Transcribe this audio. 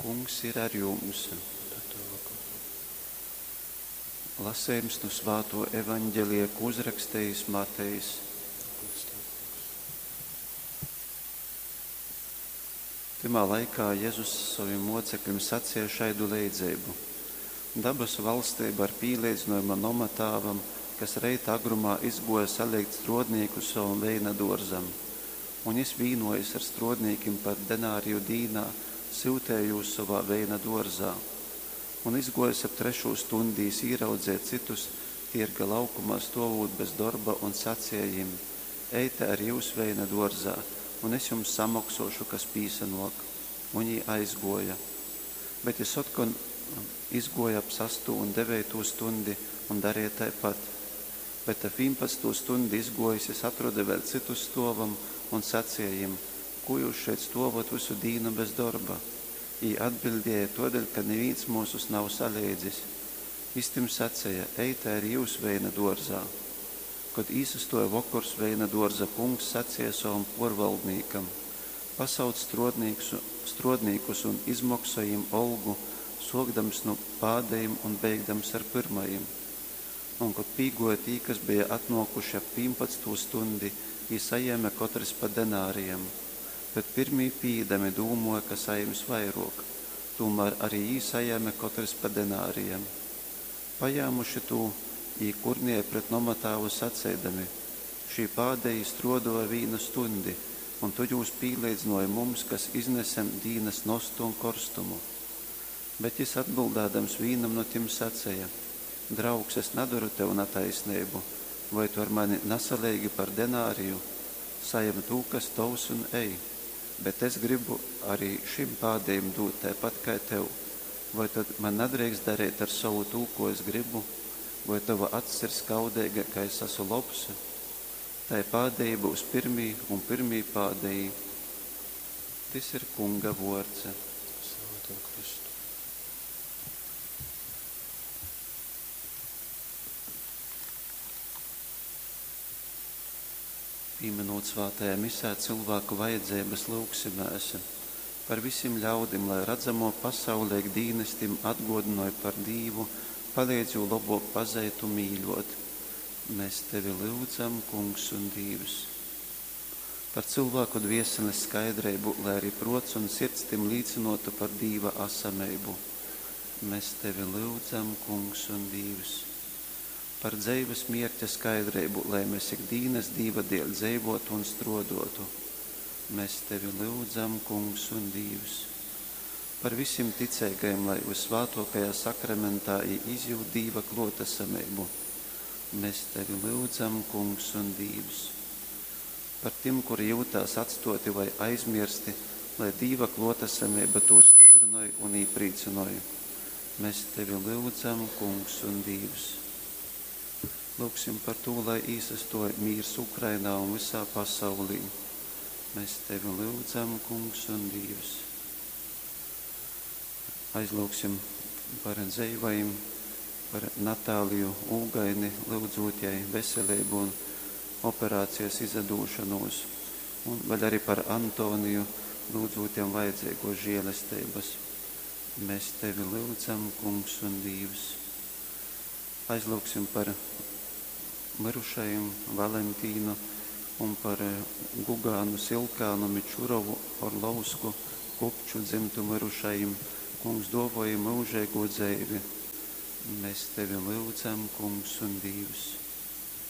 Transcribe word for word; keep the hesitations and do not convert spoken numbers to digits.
Kungs ir ar jums. Un ar tavu goru. Lasējums nu svāto evaņģelija, ko uzrakstījis Matejs. Gods tev, Kungs. Tymā laikā Jezus sovim mocekļim sacīja šaidu leidzeibu. Dabasu valstība ar pīleidzinojama noma tāvam, kas reita agrumā izgoja saliekt strodnīkus savam veina dorzam. Un jis vīnojas ar strodnīkim par denāriju dīnā, syutēja jūs sovā veina dorzā. Un izgojis ap trešū stundi, jis īraudzēja citus tierga laukumā stovūt bez dorba un sacīja jim: Eite ar jūs veina dorzā, un es jums samoksošu, kas pīsanok. Un jī aizgoja. Bet jis otkon izgoja ap sastū un deveitū stundi un darīja taipat. Bet ap vīnpadsmitū stundi izgojis, jis atroda vēl citus stovam un sacīja jim: Ko jūs šeit stovot visu dīnu bez dorba? Jī atbildēja: Todēļ, ka nivīns mūsus nav saleidzis. Jis tim sacīja: Eite arī jūs veina dorzā. Kod īsastoja vokors, veina dorza kungs sacīja savam porvaldnīkam: Pasauc strodnīkus un izmoksoj jim olgu, sokdams nu pādejim un beigdams ar pyrmajim. Un kod pīgoja tī, kas bija atnokuši ap vīnpadsmitū stundi, jī sajēme kotrs pa denārijam. Bet pirmī pīīdami dūmoja, ka sajims vairok, tūmār arī jī sajēme kotrs pa denārijam. Pajēmuši tū, jī kurnēja pret nomatāvu saceidami: Šī pādejī strodoja vīnu stundi, un tu jūs pīleidzinoji mums, kas iznesem dīnas nostu un korstumu. Bet jis atbildādams vīnam no tim saceja: Draugs, es nadaru tev nataisneibu, vai tu ar mani nasaleigi par denāriju? Sajem tū, kas tovs, un ej. Bet es gribu arī šim pādejim dūt taipat kai tev. Vai tad man nadreikst darīt ar savu tū, ko es gribu? Vai tava acs ir skaudeiga, ka es esmu lobs? Tai pādejī būs pirmī un pirmī pādejī. Tys ir Kunga vords. Slava tev, Kristu. Pīminot svātajā misē cilvēku vajadzības, lūgsimēs par visiem ļaudim, lai redzamo pasaulē dīnestim atgodinoj par Dīvu, palīdz jū labok pazeit un mīļot. Mēs tevi lyudzam, Kungs un Dīvs. Par cilvēku dvieseles skaidrību, lai arī prots un sirds tim līcinotu par Dīva asameibu. Mēs tevi lyudzam, Kungs un Dīvs. Par dzeives mierķa skaidrību, lai mēs ik dīnas Dīva dēļ dzeivotu un strodotu. Mēs tevi lyudzam, Kungs un Dīvs. Par visiem ticīgajiem, lai visvētākajā sakramentā izjūt Dīva klotesamību. Mēs tevi lyudzam, Kungs un Dīvs. Par tiem, kuri jūtās atstoti vai aizmirsti, lai Dīva klotesamība tūs stiprinoj un īprīcinoj. Mēs tevi lyudzam, Kungs un Dīvs. Lūgsim par to, lai īsastoja mīrs Ukrainā un visā pasaulī. Mēs tevi lyudzam, Kungs un Dīvs. Aizlūgsim par dzeivajiem, par Natāliju Ūgaini, lūdzot jai veselību un operācijas izadūšanos, un vēl arī par Antoniju, lūdzot jam vajadzīgo žēlestības. Mēs tevi lyudzam, Kungs un Dīvs. Aizlūgsim par mirušajiem Valentīnu un par Gugānu, Silkānu, Mičurovu, Orlovsku, Kupču dzimtu mirušajiem. Kungs, dovoji mūžīgo dzeivi. Mēs tevi lyudzam, Kungs un Dīvs.